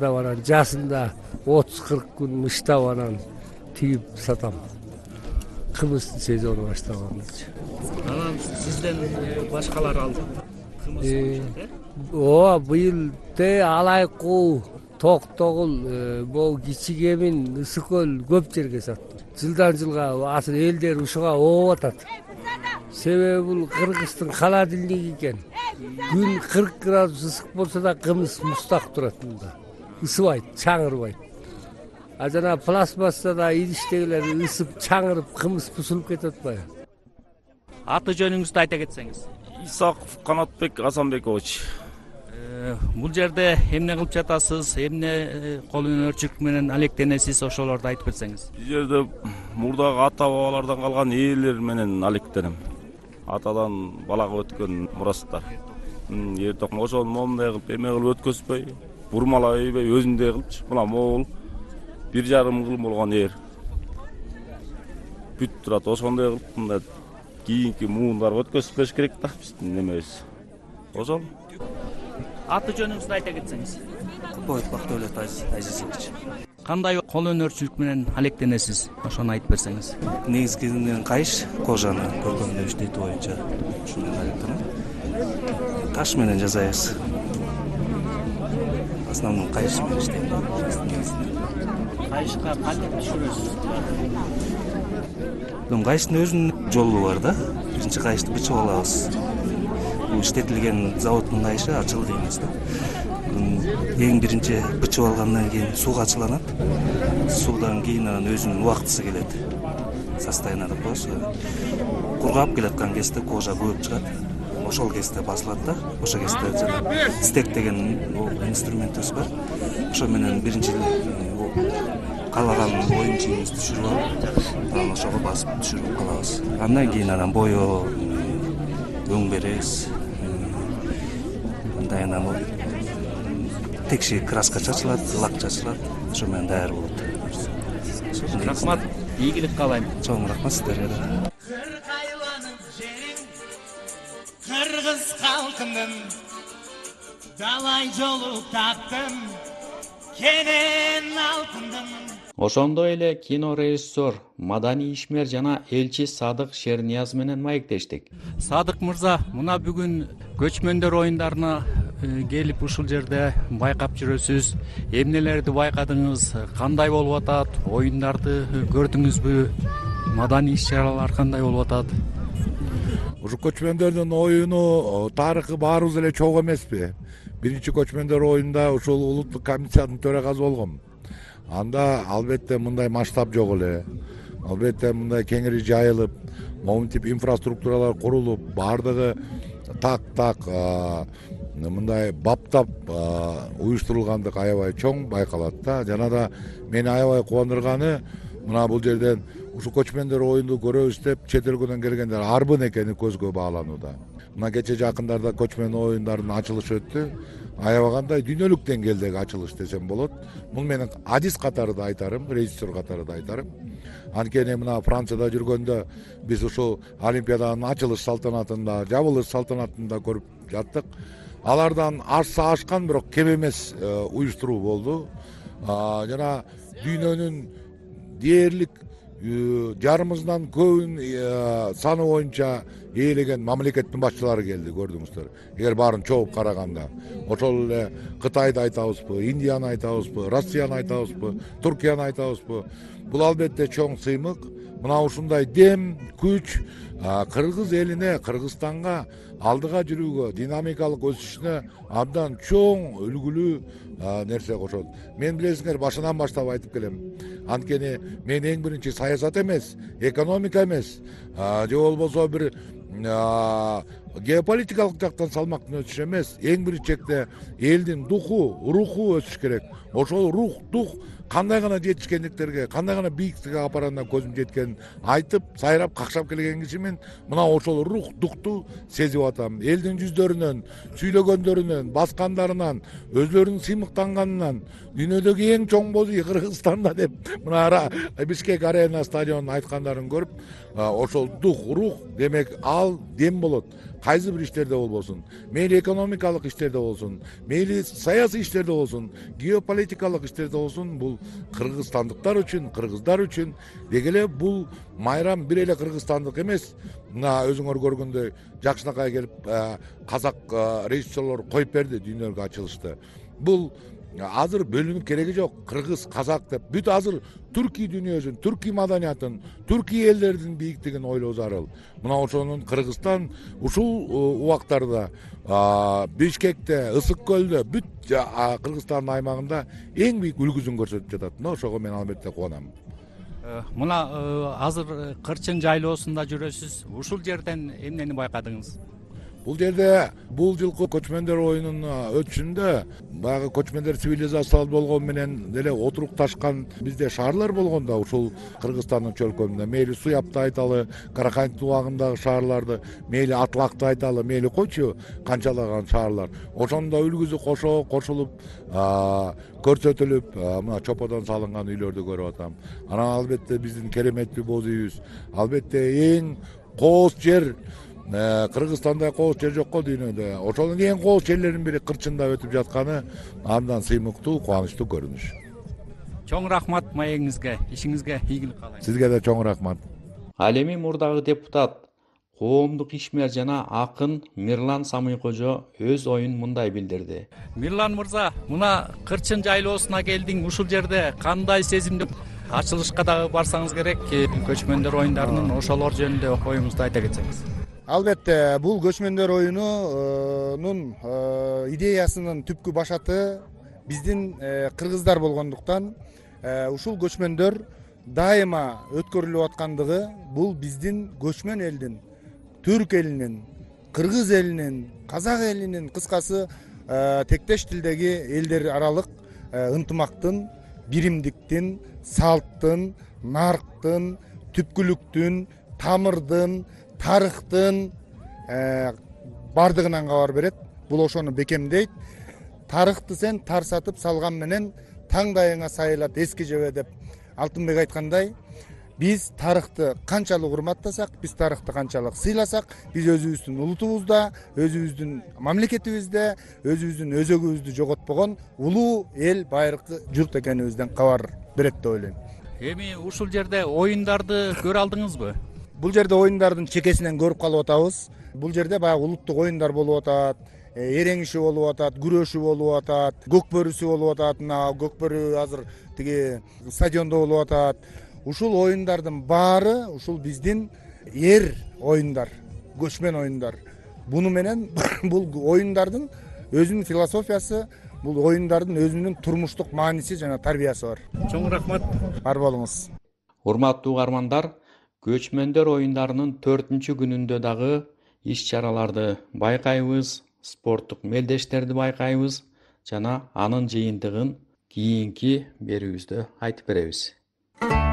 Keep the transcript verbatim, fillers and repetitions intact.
Анан жасында отуз кырк күн мыштап анан тигип сатам. Кымыздын сезону баштаганчы. Анан сизден башкалар алды. Ооба, быйыл те алайкуу, токтогул, могу кичи кемин, ысык көл көп жерге саттым. Жылдан жылга асыл элдер ушуга ооп атат. Себеби бул Кыргыздын холодильниги экен. Күн кырк градус ысык болсо да кымыз муздак турат мында. Ысыбайт, чаңырбайт. А жана пластмассада идиштегилер ысып, чаңырып, кымыз бузулуп кетип атпайбы? Аты жөнүңүздү айта кетсеңиз. Исаков Канатбек Асанбекович. Бул жерде эмне кылып жатасыз? Эмне кол өнөрчүлүк менен алектенесиз? Ошолорду айтып берсеңиз. Бул жерде мурдагы ата бабалардан калган ээлер менен алектенем. Атадан балага өткөн мурастар. Эр токмо ошону момундай кылып эме кылып өткөзбөй, бурмалай ийбей өзүндөй кылыпчы. Мына могул бир жарым жыл болгон эр. Бүт турат ошондой кылып мындай кийинки муундарга өткөзүп керек да биздин немебиз. Ошол. Аты жөнүңүздү айта кетсеңиз. Купаев Бактыөлөт Азизович. Кандай кол өнөрчүлүк менен алектенесиз? Ошону айтып берсеңиз. Негизгиден кайыш, кожаны көркөмдөө иштетүү боюнча ушуну алектенем. Таш менен жасайбыз. Основном кайыш менен иштейм. Кайышка кантип түшүрөсүз? Кайыштын өзүнүн жолу бар да. Биринчи кайышты бычып алабыз. Бул иштетилген заводдун кайышы ачыл дейбиз да. Эң биринчи бычып алгандан кийин сууга ачыланат. Суудан кийин анан өзүнүн убактысы келет. Состояние деп коебуз. Кургап келаткан кезде кожа көбүп чыгат. Ошол кезде басылат да. Ошол кезде жана стек деген инструментибиз бар. Ошо менен биринчи каалаган оюн чийимизди түшүрүп алып, анан ошого басып түшүрүп калабыз. Андан кийин анан боё өң беребиз. Мындай анан текши краска чачылат, лак чачылат. Ошо менен даяр болот. Рахмат. Ийгилик каалайм. Чоң рахмат сиздерге да. Кыргыз халкынын далай жолу таптым, кенен алтындым. Ошондой эле кинорежиссер, маданий ишмер жана элчи Садык Шернияз менен маектештик. Садык мырза, мына бүгүн көчмөндөр оюндарына келип ушул жерде байкап жүрөсүз. Эмнелерди байкадыңыз? Кандай болуп атат? Оюндарды көрдүңүзбү? Маданий иш-чаралар кандай болуп атат? Ушу көчмөндөрдүн оюну тарыхы баарыбыз эле чогуу эмеспи? Биринчи көчмөндөр оюнда ушул улуттук комиссиянын төрагасы болгом. Анда албетте мындай масштаб жок эле. Албетте мындай кеңири жайылып, момун тип инфраструктуралар курулуп, баардыгы так-так мындай баптап уюштурулгандык аябай чоң байкалат да. Жана да мени аябай кубандырганы мына бул жерден ушу көчмөндөр оюнду көрөбүз деп чет өлкөдөн келгендер арбын экени көзгө бааланууда. Мына кече жакындарда көчмөн оюндардын ачылышы өттү. Аябагандай дүйнөлүк деңгээлдеги ачылыш десем болот. Бул менин адис катары да айтарым, режиссер катары да айтарым. Анткени мына Францияда жүргөндө биз ушул Олимпиаданын ачылыш салтанатында, жабылыш салтанатында көрүп жаттык. Алардан ашса ашкан, бирок кем эмес уюштуруу болду. Жана дүйнөнүн дээрлик жарымыздан көбүн саны боюнча ээлеген мамлекеттин башчылары келди, көрдүңүздөр. Эгер баарын чогуп караганда, ошол эле Кытайды айтабызбы, Индияны айтабызбы, Россияны айтабызбы, Туркияны айтабызбы? Бул албетте чоң сыймык. Мына ушундай дем, күч Кыргыз элине, Кыргызстанга алдыга жүрүүгө, динамикалык өсүшүнө абдан чоң үлгүлүү нерсе кошот. Мен билесиңер, башынан баштап айтып келем. Анткени мен эң биринчи саясат эмес, экономика эмес, же болбосо бир геополитикалык жактан салмактуу өсүш эмес, эң биринчи чекте элдин духу, руху өсүш керек. Ошол рух, дух кандай гана жетишкендиктерге, кандай гана бийиктикке апарандан көзүм жеткенин айтып, сайрап, какшап келген кишимин. Мына ошол рух, духту сезип атам. Элдин жүздөрүнөн, сүйлөгөндөрүнөн, баскандарынан, өзлөрүнүн сыймыктанганынан, дүйнөдөгү эң чоң боз үй Кыргызстанда деп мына Бишкек арена стадионун айткандарын көрүп, ошол дух, рух демек ал дем болот. кайсы бир иштерде болбосун, мейли экономикалык иштерде болсун, мейли саясий иштерде болсун, геополитикалык иштерде болсун, бул кыргызстандыктар үчүн, кыргыздар үчүн деги эле бул майрам бир эле кыргызстандык эмес. Мына өзүңөр көргөндөй жакшынакай келип казак режиссерлор коюп берди, дүйнөгө ачылышты. Бул азыр бөлүнүп кереги жок. Кыргыз, казак деп бүт азыр Түркий дүйнөсүн, Түркий маданиятын, Түркий элдердин бийиктигин ойлоо зарыл. Мына ошонун Кыргызстан ушул убактарда Бишкекте, Ысык көлдө, бүт Кыргызстандын аймагында эң бийик үлгүсүн көрсөтүп жатат. Мына ошого мен албетте кубанам. Мына азыр Кырчын жайлоосунда жүрөсүз. Ушул жерден эмнени байкадыңыз? Бул жерде бул жылкы көчмөндөр оюнунун өтүшүндө баягы көчмөндөр цивилизациялуу болгону менен деле отурукташкан бизде шаарлар болгон да ушул Кыргызстандын чөлкөмүндө. Мейли Суяпты айталы, Каракайын убагындагы шаарларды, мейли Атлакты айталы, мейли койчу канчалаган шаарлар. Ошондо үлгүсү кошо кошулуп көрсөтүлүп, мына чоподон салынган үйлөрдү көрүп атам. Анан албетте биздин кереметтүү боз үйүбүз, албетте эң кооз жер Кыргызстанда кооз жер жок го дүйнөдө. Ошонун эң кооз жерлеринин бири Кырчында өтүп жатканы абдан сыймыктуу, кубанычтуу көрүнүш. Чоң рахмат маегиңизге, ишиңизге ийгилик каалайм. Сизге да чоң рахмат. Ал эми мурдагы депутат, коомдук ишмер жана акын Мирлан Самыйкожо өз оюн мындай билдирди. Мирлан мырза, мына Кырчын жайлоосуна келдиң. Ушул жерде кандай сезимде? Ачылышка дагы барсаңыз керек. Көчмөндөр оюндарынын ошолор жөнүндө оюңузду айта кетсеңиз. Албетте, бул көчмөндөр оюнунун идеясынын түпкү башаты биздин кыргыздар болгондуктан ушул көчмөндөр дайыма өткөрүлүп аткандыгы бул биздин көчмөн элдин, түрк элинин, кыргыз элинин, казак элинин, кыскасы тектеш тилдеги элдер аралык ынтымактын, биримдиктин, салттын, нарктын, түпкүлүктүн, тамырдын, тарыхтын бардыгынан кабар берет. Бул ошону бекемдейт. Тарыхты сен тарсатып салган менен таңдайыңа сайылат эски жебе деп Алтынбек айткандай, биз тарыхты канчалык урматтасак, биз тарыхты канчалык сыйласак, биз өзүбүздүн улутубузда, өзүбүздүн мамлекетибизде, өзүбүздүн өзөгүбүздү жоготпогон улуу эл, байыркы журт экенибизден кабар берет деп ойлойм. Эми ушул жерде оюндарды көрө алдыңызбы? Бул жерде оюндардын чекесинен көрүп калып атабыз. Бул жерде баягы улуттук оюндар болуп атат, эрең иши болуп атат, күрөшү болуп атат, көкбөрүсү болуп атат. Мына көкбөрү азыр тиги стадиондо болуп атат. Ушул оюндардын баары ушул биздин эр оюндар, көчмөн оюндар. Буну менен бул оюндардын өзүнүн философиясы, бул оюндардын өзүнүн турмуштук мааниси жана тарбиясы бар. Чоң рахмат. Бар болуңуз. Урматтуу угармандар, көчмөндөр оюндарынын төртүнчү күнүндө дагы иш-чараларды байкайбыз, спорттук мелдештерди байкайбыз жана анын жыйынтыгын кийинки берүүбүздө айтып беребиз.